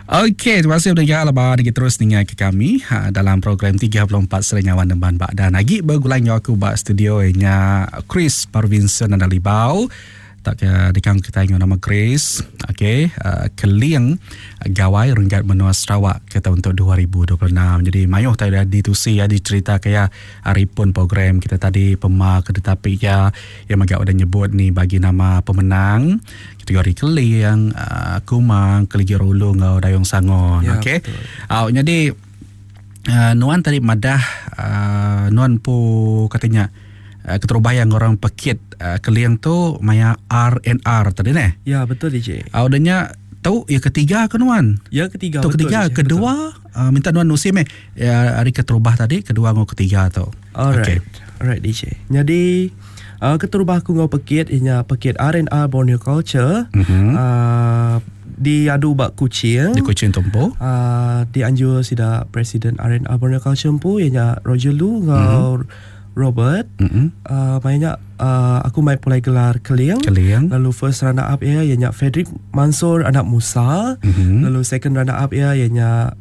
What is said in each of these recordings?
Okey, terima kasih pendengar laban lagi terus ninga ke kami ha, dalam program 34 Serenyawan Nemban Bak dan lagi begulai enggau aku ba studio nya Chris Parvinson dan Libau. Tak ke dikang kita enggau nama Chris. Okey, uh, Keling Gawai Renggat Menua Sarawak ke tahun untuk 2026. Jadi mayuh tadi dah ditusi ya dicerita ke ya hari pun program kita tadi pema ke tetapi ya yang mega udah nyebut ni bagi nama pemenang Kategori Keling, uh, Kumang, Keligi Rulu enggau Dayung Sangon. Ya, Okey. Au jadi uh, nuan tadi madah uh, nuan pu katanya uh, keterubah yang orang pekit uh, Keling tu maya RNR tadi neh. Ya, betul DJ. Au denya tu ya ketiga ke nuan? Ya ketiga tu betul. Ketiga, DJ, kedua betul. Uh, minta nuan nusim eh ya, hari keterubah tadi, kedua ngau ketiga tu. Alright. Okay. Alright DJ. Jadi uh, keterubah aku ngau pekit inya pekit R&R Borneo Culture. Mm-hmm. Uh, diadu ba Kuching. Di Kuching tumpu. Uh, dianjur sida Presiden R&R Borneo Culture empu ianya Roger Lu ngau mm-hmm. Robert. Mm-hmm. Uh, mainnya uh, aku mai pulai gelar Keling. Keling. Lalu first runner up ia ianya Frederick Mansur anak Musa. Mm-hmm. Lalu second runner up ia ianya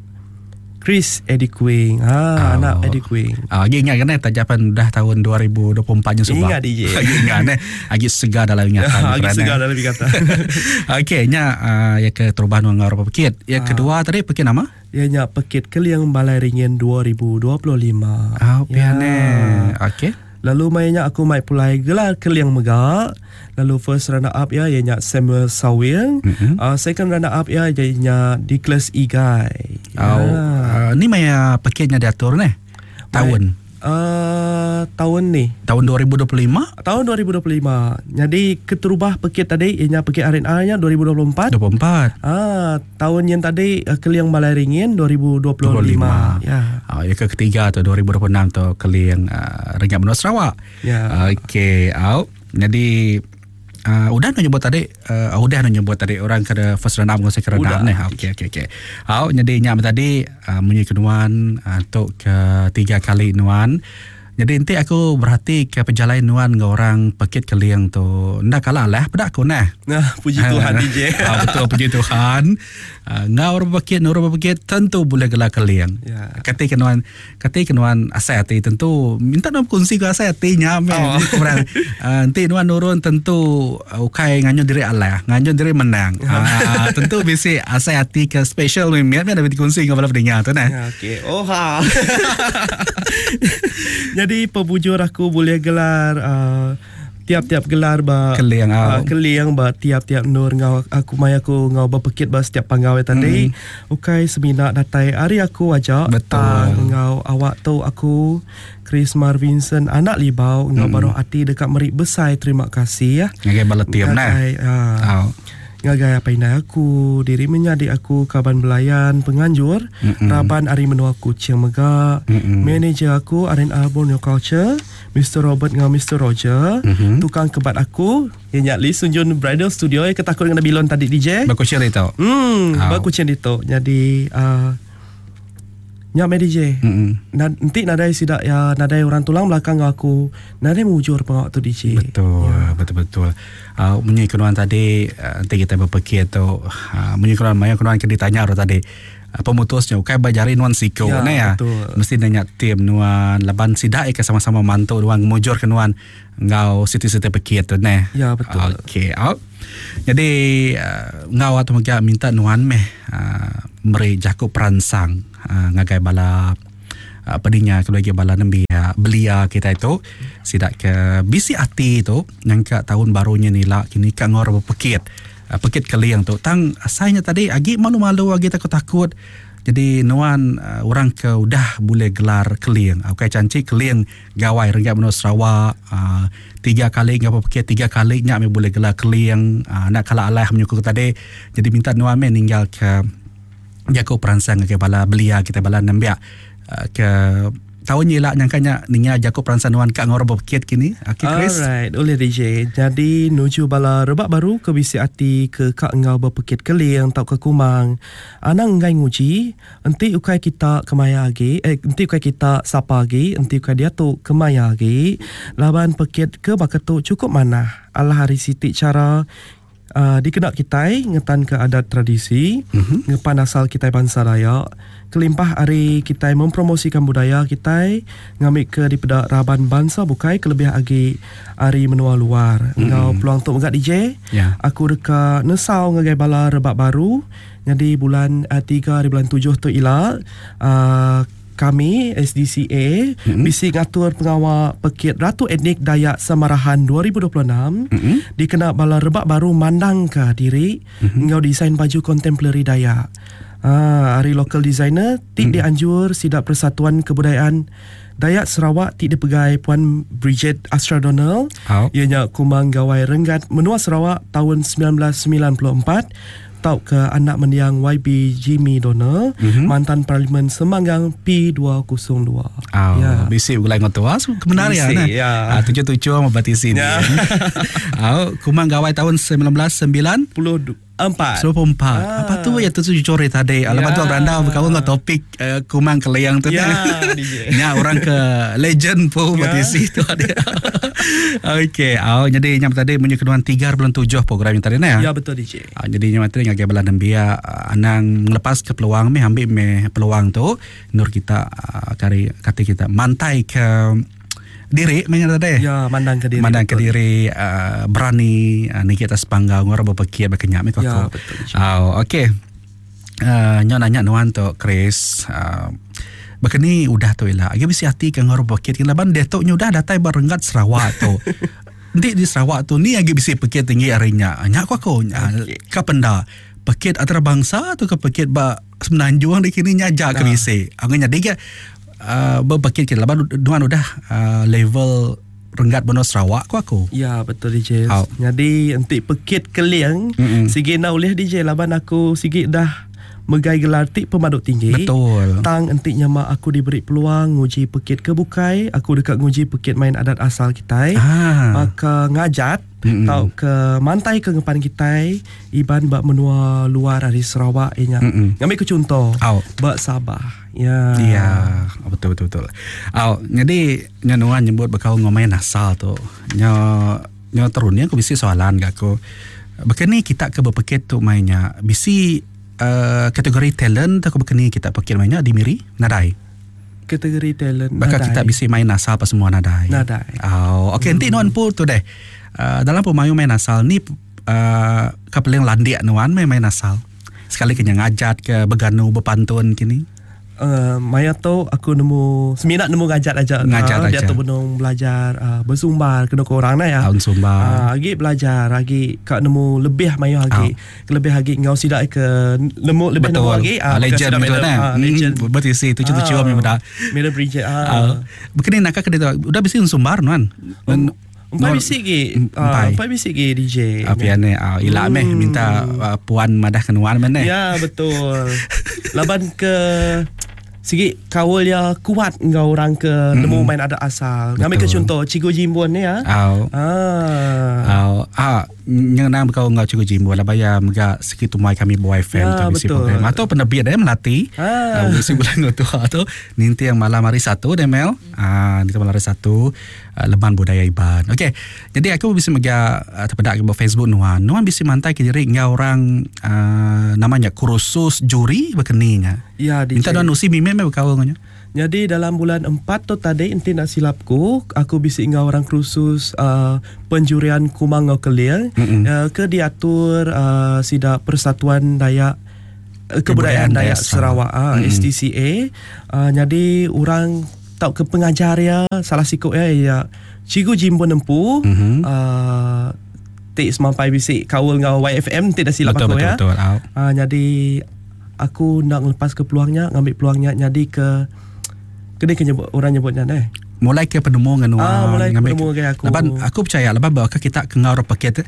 Chris Eddie Kuing. Ha, oh. anak Eddie Kuing. Ah, lagi ingat kan eh tajapan dah tahun 2024 nya subah. Ingat DJ. Lagi ingat eh. Lagi segar dalam ingatan. Lagi segar dalam ingatan. Okey, nya uh, ya ke terubahan ngau berapa pekit. Ya uh. kedua tadi pekit nama? Ya nya pekit Keliang Balai Ringin 2025. Ah, oh, ya. Okey. Lalu mainnya aku mai pulai gelar Keliang mega. Lalu first runner up ya ianya Samuel Sawing. Mm-hmm. Second runner up ya ianya Nicholas Igai. Oh, ya. Ni maya paketnya diatur ni. Tahun. Tahun ni. Tahun 2025? Tahun 2025. Jadi keterubah pekit tadi ianya pekit RNR nya 2024. 24. Ah, tahun yang tadi Keliang Balai Ringin 2025. 25. Ya. Ah, yang ketiga tu 2026 tu Keliang Renggat Menua Sarawak. Ya. Okey, out. Jadi udah nak nyebut tadi udah nak nyebut tadi orang kena first round up dengan second round up ni. Okey okey okey. Au jadi nyak tadi munyi kenuan untuk ke tiga kali nuan. Jadi nanti aku berhati ke perjalanan nuan dengan orang pekit Keliang tu. Ndak kalah lah pedak aku nah. Nah, puji Tuhan DJ. Betul puji Tuhan. Ngau orang pekit, orang pekit tentu boleh gelar Keliang. Ya. Kati kenuan, kati kenuan asai hati tentu minta nuan kongsi ke asai hati nya me. Oh. Nanti nuan nurun tentu ukai nganyun diri Allah, nganyun diri menang. Tentu bisi asai hati ke special ni miat ada dikongsi dengan bala pendengar tu nah. Ya, okey. Oh ha. Jadi pebujur aku boleh gelar tiap-tiap gelar ba Keliang Keliang ba tiap-tiap nur ngau aku mai aku ngau berpekit ba setiap panggau tadi. Ukai semina datai hari aku aja tang ngau awak tu aku Chris Marvinson anak Libau ngau baru ati dekat meri besai terima kasih ya. Ngagai bala tiam nah. Ngagai apa inai aku diri menyadi aku kaban belayan penganjur raban ari menua Kuching mega manager aku R&R Borneo Culture Mr Robert ngau Mr Roger tukang kebat aku yang Lee Sunjun Bridal Studio yang ketakut dengan bilon tadi DJ berkucing itu berkucing itu jadi nyak me DJ. Nanti nadai sidak ya nadai orang tulang belakang aku nadai mujur pengawak tu DJ. Betul, ya. Betul-betul. Munyi kenuan tadi nanti kita berpikir tu munyi kenuan maya kenuan ke ditanya ro tadi. Pemutusnya ukai bajari nuan siko ya, ne ya. Betul. Mesti nanya tim nuan laban sidak ke sama-sama mantu nuan mujur ke nuan ngau siti-siti pekit tu ne. Ya betul. Okey, out. Jadi ngau atau mega minta nuan meh meri jaku peransang ngagai bala pedinya keluarga bala nembiak belia kita itu sidak ke bisi ati tu nyangka tahun barunya nila kini ka ngor berpekit pekit Keliang tu tang asalnya tadi agi malu-malu agi takut-takut jadi nuan orang ke udah boleh gelar Keliang okey cantik Keliang Gawai Renggat Menua Sarawak tiga kali ngapa pekit tiga kali nya me boleh gelar Keliang nak kala alah menyukur tadi jadi minta nuan me ninggal ke jaku peransang ke bala belia kita bala nembiak ke tahun ni lah nyangkanya ninga jaku peransang nuan ka ngor berpekit kini. Okey Chris. Alright, oleh DJ. Jadi nuju bala rebak baru ke bisi ati ke ka ngau berpekit Keliang tau ke Kumang. Anang ngai nguji, enti ukai kita kemaya agi, enti ukai kita sapa agi, enti ukai dia tu kemaya agi. Laban pekit ke baka tu cukup manah. Alah hari siti cara Uh, dikena kitai ngetanka adat tradisi, mm-hmm. ngepan asal kitai bansa Dayak, kelimpah ari kitai mempromosikan budaya kitai ngambika dipeda raban bansa bukai kelebih agi ari menua luar. Mm-hmm. Enggau peluang tu mega DJ, yeah. aku deka nesau ngagai bala rebak baru nyadi bulan uh, 3 hari bulan 7 tu ila uh, Kami, SDCA, mm-hmm. bisi ngatur pengawa Pekit Ratu Etnik Dayak Samarahan 2026 mm-hmm. dikena bala rebak baru mandangka diri mm-hmm. enggau desain baju kontemporari Dayak. Ah, ari local designer ti mm-hmm. dianjur sida Persatuan Kebudayaan Dayak Sarawak ti dipegai Puan Bridget Astra Donald, oh. iya nya Kumang Gawai Renggat Menua Sarawak taun 1994 tauka anak mendiang YB Jimmy Donald, mm-hmm. mantan Parlimen Semanggang P202. Oh, ya. Bisi begulai enggau tua kebenar ya. Bisi, ya. Ah, tuju-tuju sama batisi ni. Ya. oh, Kumang Gawai tahun 1994. 94. Ah. Apa tu ya tu jujur tadi. Ya. Lepas tu berandau berkawan dengan topik uh, Kumang Keliang tu. Ya, Nya orang ke legend pun ya. batisi tu ada. Okey, oh, jadi nyam tadi munyi keduan 3.7 program yang tadi nah. Ya betul DJ. Uh, jadi nyam tadi ngagai bala nembiak uh, anang ngelepas ke peluang meh ambil meh peluang tu nur kita uh, kari kata kita mantai ke diri meh tadi. Ya, mandang ke diri. Mandang ke diri uh, berani uh, ni kita sepanggau ngora berpekir berkenyak meh Ya, betul. Oh, okey. Uh, nyo nanya nuan tu Chris uh, Bekeni udah tu ila agi bisi ati ke enggau pekit ke laban diatu nya udah datai ba renggat Sarawak tu. Enti di Sarawak tu ni agi bisi pekit tinggi ari nya. Nya ku aku okay. ka penda pekit antarabangsa tu ke pekit ba Semenanjung di kini nya aja ke bisi. Aku nyadi ke uh, bepekit ke laban nuan udah uh, level renggat menua Sarawak ku aku. Ya betul DJ. Oh. Jadi enti pekit keling mm-hmm. sigi enda ulih DJ laban aku sigi dah megai gelar ti pemadu tinggi. Betul. Tang enti nyema aku diberi peluang nguji pekit ke bukai, aku deka nguji pekit main adat asal kitai. Ah. Baka ngajat mm-hmm. tauka mantai ke ngepan kitai Iban ba menua luar ari Sarawak iya nya. Mm-hmm. Ngambi ke chunto oh. ba Sabah. Ya. Ya, betul betul betul. Au, jadi nya nuan nyebut bekaul enggau main asal tu. Nya nya terun ni aku bisi soalan ga aku. Baka ni kita ke bepekit tu main nya bisi uh, kategori talent atau baka ni kita pekit main nya di Miri? Nadai. Kategori talent Baka nadai. kita bisi main asal apa semua nadai. Nadai. Au, okey hmm. enti nuan pun tu deh. Uh, dalam pemayu main asal ni uh, ka paling landik nuan main main asal. Sekali ke nya ngajat ke beganu bepantun kini. Uh, maya tu aku nemu semina nemu ngajat aja. Ngajat uh, aja. Dia tu benung belajar uh, bersumbar kena ke orang nah ya. Tahun sumbar. Uh, agi belajar agi ka nemu lebih mayu agi. Uh. Lebih agi ngau sida ke nemu lebih Betul. nemu agi uh, legend betul nah. Uh, legend. Hmm, betul sih tuju-tuju uh, meda. Meda Bridget. Uh. Uh, Begini nak ke dia udah bisi sumbar nuan. Um, Empai bisi gi. Empai. Empai bisi gi DJ. Apa ya ni? Ila meh minta puan madah ke nuan meh. Ya betul. Laban ke sigi kaul ya kuat enggau orang ke nemu main adat asal. Ngambil ke contoh Cikgu Jimbun ni ya. Au. Ah. Au. Ah, nyenang bekau enggau Cikgu Jimbun laban ya mega segi tumai kami Boy FM ya, tu bisi program. Atau penerbit dia melati. Ah. Bisi bulan tua tu ninting malam hari Satu deh Mel. Ah, ninting malam hari Satu leman budaya Iban. Okey. Jadi aku bisi mega uh, terpedak ke Facebook nuan. Nuan bisi mantai ke diri enggau orang uh, namanya kursus juri berkeninya. Ya, DJ. Minta nuan usi mimit meh bekaul dengan Jadi dalam bulan 4 tu tadi enti nak silapku, aku bisi enggau orang kursus uh, penjurian Kumang enggau Keling uh, ke diatur uh, sida Persatuan Dayak Kebudayaan Dayak Sarawak uh, SDCA. Uh, jadi orang tau ke pengajar ya salah sikuk ya ya Cikgu Jimbun Empu mm-hmm. uh, tik semampai bisi kaul enggau YFM tik dah silap betul, aku betul, ya. Betul, betul. Uh, jadi aku nak ngelepas ke peluangnya, ngambil peluangnya jadi ke kena ke nyebut orang nyebutnya deh. Mulai ke penemu dengan nuan. Ah, mulai ke penemu dengan aku. Laban aku percaya laban bakal kita ke ngau paket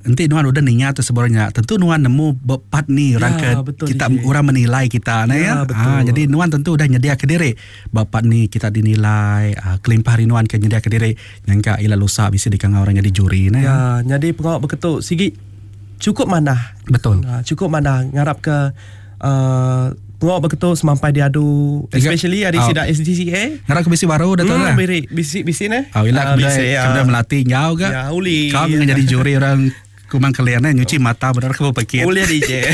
enti nuan udah ninga tu sebenarnya tentu nuan nemu bepat ni orang ya, ke betul, kita DJ. Orang menilai kita nah ya, ya. Betul. Ah, jadi nuan tentu udah nyedia ke diri bapak ni kita dinilai ah, kelimpah hari nuan ke nyedia ke diri nyangka ila lusa bisa dikangau orang jadi juri nah. Ya, jadi pengawak beketuk sigi cukup manah. Betul. Ah, cukup manah ngarap ke uh, pengawak beketuk semampai diadu especially hari Ah. sida SDCA. Ngarap ke bisi baru dah tu lah. Bisi bisi ne. Ah, ila Ah, kemudian bisi, ya. kemudian melatih ngau ke. Ya, uli. Kau dengan jadi juri orang Kumang kalian eh nyuci mata benar ke bepekit. Ulih DJ.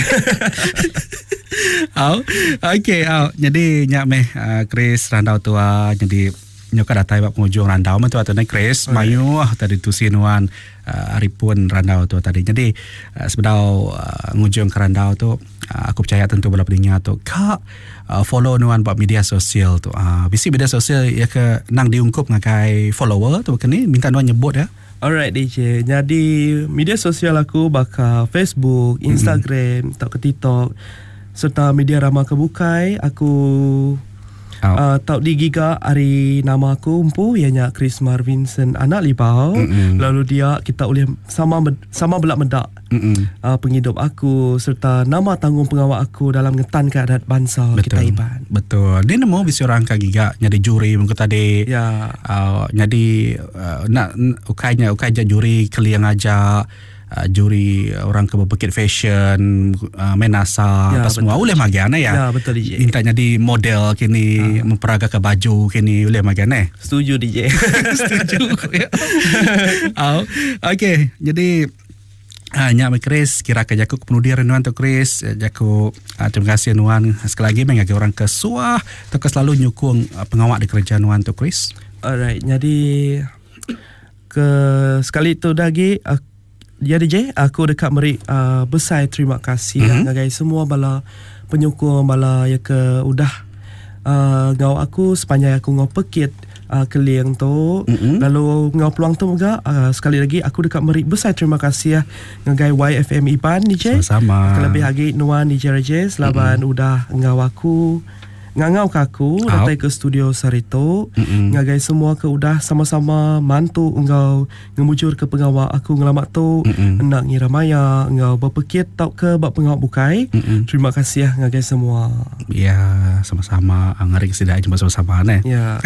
Au. Okey, au. Jadi nya meh uh, Chris randau tua jadi nyoka datai ba pengujung randau meh tua tu ne Chris. Mayuh tadi tusi nuan uh, ari pun randau tu tadi. Jadi uh, sebedau uh, ngujung ke randau tu uh, aku percaya tentu bala peninga tu ka uh, follow nuan ba media sosial tu. Uh, bisi media sosial ya ke nang diungkup ngagai follower tu kini minta nuan nyebut ya. Alright DJ. Jadi media sosial aku baka Facebook, Instagram, mm-hmm. tauka TikTok serta media rama ke bukai aku oh. uh, tau digiga ari nama aku empu iya nya Chris Marvinson Anak Libau. Mm-hmm. Lalu dia kita boleh sama sama belak medak mm-hmm. uh, penghidup aku serta nama tanggung pengawal aku dalam ngetankan adat bangsa Betul. kita Iban. Betul. Dia nemu bisi orang ka giga nyadi juri mungkin tadi. Ya. Uh, nyadi uh, nak ukainya ukai je juri keliang aja uh, juri orang ke berpekit fashion uh, main nasa Ya, apa semua betul. boleh magian ya. Ya, betul, DJ. Minta jadi model kini uh. memperagakan baju kini boleh magian eh. Setuju DJ. Setuju. ya. Oh, okey, jadi Ah, nya Chris, kira ke jaku kepenudi nuan tu Chris, eh, jaku ah, terima kasih nuan sekali lagi mengagai orang ke suah atau ke selalu nyukung ah, pengawak di kerja nuan tu Chris. Alright, jadi ke sekali tu lagi aku, ya DJ, aku dekat meri besar terima kasih mm-hmm. ngagai semua bala penyokong bala yang ke udah ngau aku sepanjang aku ngau pekit keliang tu mm-hmm. lalu ngau peluang tu juga sekali lagi aku dekat meri besar terima kasih ngagai YFM Iban DJ. Sama-sama. Kelebih lagi nuan DJ Rajesh laban mm-hmm. udah ngau aku ngangau ke aku datang ke studio Sarito mm-hmm. ngagai semua ke udah sama-sama mantu engau ngemujur ke pengawal aku ngelamak tu mm-hmm. nak ngira maya engau berpekit tau ke bak pengawal bukai mm-hmm. terima kasih ngagai semua. Ya, sama-sama ngari sida jumpa sama-sama ne. Ya.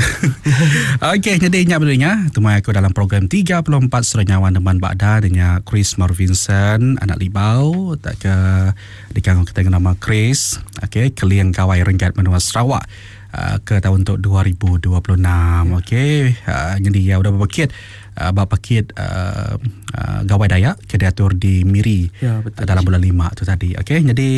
Okey, jadi ingat berdua temui aku dalam program 34 Suara Nyawa Deman Bakda dengan Chris Marvinson anak Libau tak ke dikanggu kita dengan nama Chris. Okey, Keliang Gawai Renggat Menua Sarawak uh, ke tahun untuk 2026. Okey, jadi ya udah berpekit uh, bak pekit uh, uh, Gawai Dayak ke diatur di Miri Ya, betul. uh, dalam bulan 5 tu tadi. Okey, jadi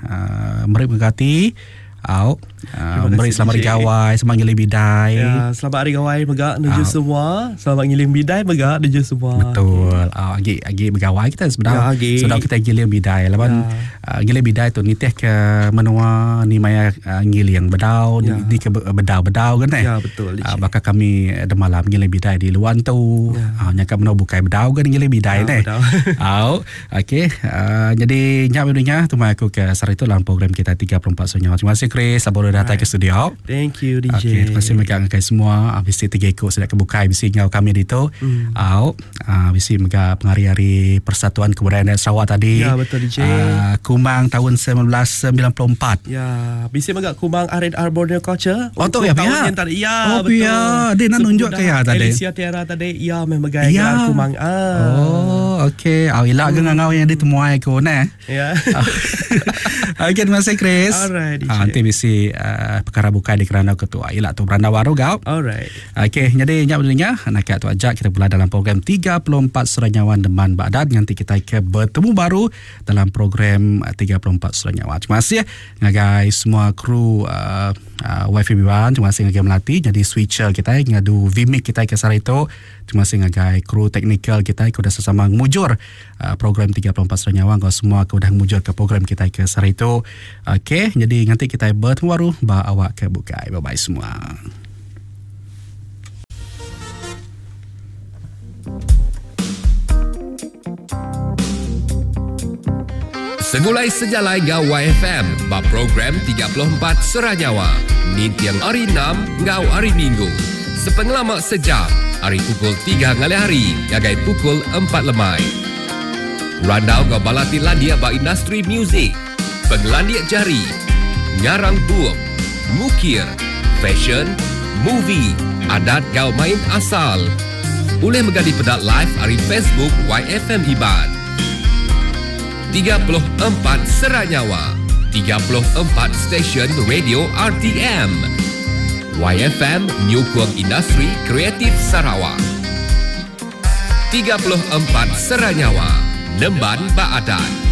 uh, meri mengati au uh, Terima meri kasih, selamat hari DJ. gawai, selamat ngiling bidai. Ya, selamat hari gawai mega nuju Ah. semua. Selamat ngiling bidai mega nuju semua. Betul. Ah agi agi bergawai kita sebenarnya. Ya, agi. Sebab kita giling bidai. Laban Ya. uh, giling bidai tu nitih ke menua ni maya uh, ngiling bedau Ya. di, di ke bedau-bedau kan eh. Ya, betul, Uh, bakal kami demalam giling bidai di luan tu. Ya. Uh, nyakap menua bukai bedau kan giling bidai Ya, ne. bedau. Au. Okey. Uh, jadi nyak dunia tu mai aku ke sari tu dalam program kita 34 Senyawa. Terima kasih Chris sabar datang ke studio. Thank you DJ. Okey, terima kasih mega ngagai semua. Ah, bisi tiga ikut sedak kebukai bisi ngau kami di tu. Mm. Au, ah, bisi mega pengari-hari Persatuan Kebudayaan Dayak Sarawak tadi. Ya, betul, DJ. Ah, Kumang tahun 1994. Ya, bisa mega kumang R&R Borneo Culture. Oh, tu Untuk ya, tahun pihak? yang tadi. Ya, Oh, betul. pihak. Dia nak nunjuk ke ya tadi? Alicia Tiara tadi, ya memang megai Ya. gelar kumang. Ah. Oh, okey. Au ilak ke ngau yang ditemuai aku ne. Ya. Okey, terima kasih Chris. Alright, DJ. Ah, nanti bisi uh, perkara bukai di kerana ketua. Ilak tu beranda baru gau. Alright. Okey, jadi nyak berdua nak tu ajak kita pula dalam program 34 Suara Nyawa Deman Bagdad. Nanti kita ke bertemu baru dalam program 34 Suara Nyawa. Terima kasih ngagai semua kru uh, uh, WiFi Biwan, terima kasih ngagai Melati jadi switcher kita ngadu Vmic kita ke sara itu. Terima kasih ngagai kru teknikal kita ke udah sesama ngmujur uh, program 34 Suara Nyawa kau semua ke udah ngmujur ke program kita ke sara itu. Okey, jadi nanti kita bertemu baru ba awak ke bukai. Bye bye semua. Segulai Sejalai Ngau YFM bab program 34 Seranyawa. Nintiang hari 6 ngau hari Minggu. Sepengelamak sejam, hari pukul 3 ngalih hari, gagai pukul 4 lemai. Randau ngau balati landia ba industri muzik. Penglandia jari, ngarang bup, mukir, fashion, movie, adat gau main asal. Boleh menggali pedak live hari Facebook YFM Iban. 34 Seranyawa 34 Stesen Radio RTM YFM Nyukung Industri Kreatif Sarawak 34 Seranyawa. Nemban ba adat.